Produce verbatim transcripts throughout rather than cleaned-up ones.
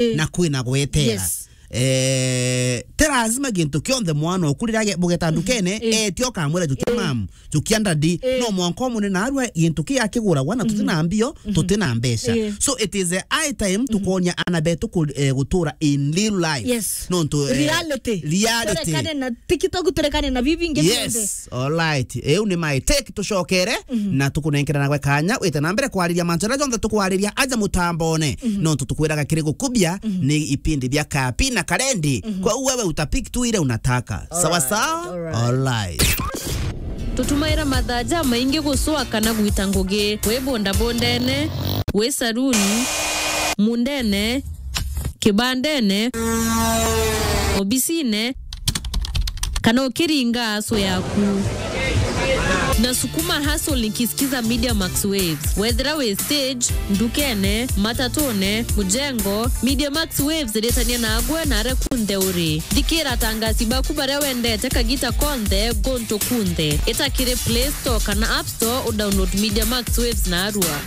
Eh. Na kwina gwetera. Yes. Eh, ti lazima gintu kionthe mwana oku riria age-, bugeta ndukene, eh, etie ukamwira, "Jukia mam, jukia ndadi." Eh. No mwanka umune narua gintu kia kiguragwa na tutina mbio, tutina mbeca. Eh. So it is a high time tukonia ana betu ku-, eh, gutura in real life. Yes. Nontu, eh, reality. Reality. Turekane na TikTok, turekane na bibi ingi bionthe. Yes. All right. Eu ni my take, tucokere na tukunenkerana gwe kanya wite na mbere kwariria mantu jaria jonthe tukwariria aja mutambone. Nontu tukwiraga kiri gukubia ni ipindi bia Kapi na Karendi. Kwa hiyo wewe utapik tu ile unataka. Sawa sawa? All right. Tutumaira mathaa jamaingi gucua kana gwita ngugi, wi bundabundene, wi saruni, mundene, kibandene, obisine, kana ukiringa aso yaku. Nasukuma hustle nikisikiza Media Max Waves. Wethira wi stage, ndukene, matatune, mujengo, Media Max Waves iritania nagwe na aria kunthe uri. Thikira atangasi baku baria wendete kagita konthe, guntu kunthe. Ita kiri Play Store kana App Store u download Media Max Waves narua.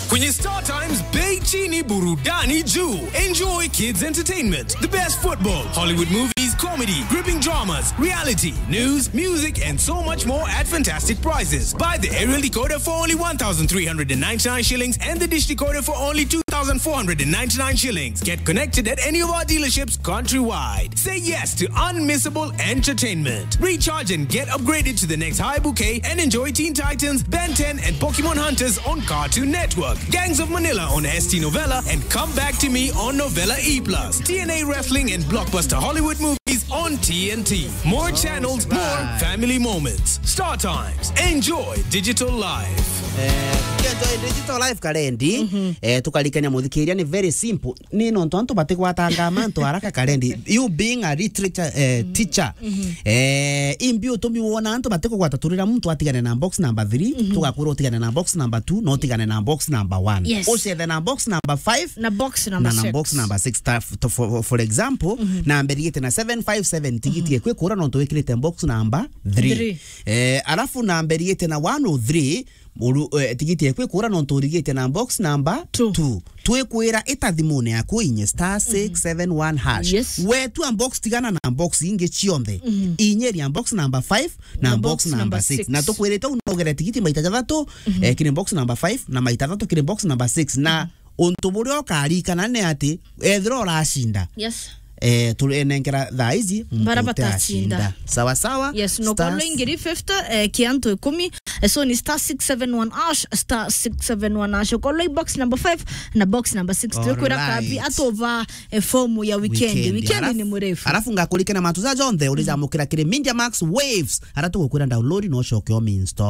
Kwenye Star Times, bei chini, burudani juu. Enjoy kids entertainment, the best football, Hollywood movies, comedy, gripping dramas, reality, news, music, and so much more at fantastic prices. Buy the aerial decoder for only one thousand three hundred and ninety-nine shillings and the dish decoder for only two thousand four hundred and ninety-nine shillings. Get connected at any of our dealerships countrywide. Say yes to unmissable entertainment. Recharge and get upgraded to the next high bouquet and enjoy Teen Titans, Ben ten, and Pokemon Hunters on Cartoon Network, Gangs of Manila on S T Novella, and Come Back to Me on Novella E plus, T N A Wrestling and blockbuster Hollywood movies on T N T. More channels, more family moments. Star Times. Enjoy digital life. Eh, enjoy digital life, Karendi. Eh, tukarikania muthikiria ni very simple. Ni nontu antu batigwatanga mantu haraka, Karendi. You being a literature, eh, teacher. Eh, imbi utumi wona antu batikugwata turira muntu atigane na box number three, tugakwira utigane na box number two, na utigane na box number one. Yes. Ucethe na box number five, na box number na, na six. Box number six. Ta-, to-, for, for example, namba iriite na seven five seven, tigiti ekwi kura nontu wikirite box number three. Three. Eh, alafu namba iriite na one oh three, Uru, eh, tigiti ekwi kura nontu urigite na box number two. Two. Twikwira ita thimune yaku inye star six seven one hash. Yes. Wetua box, tigana na box ingi cionthe. Inyeria box number five na box number six. Na tukwirite u no ugere tigiti maita jathatu, eh, kiri box number five na maita jathatu kiri box number six. Na untu buria ukarikana ni ati, ethira uracinda, yes, eh, turenenkera thaa ici, bara muntu batacinda. Sawa sawa. Yes, no. Stars. Kwa ngiri fifty, eh, kia antu ikumi, eh, so ni star six seven one hash, star six seven one hash. Kwa box number five na box number six. Tukwira Kabi atuva, eh, fomu ya weekend. Weekend. Weekend ni murefu. Alafu ngakurikana mantu ja jonthe urijamukira kiri Media Max Waves. Ara tugukwira download no ucoke o install.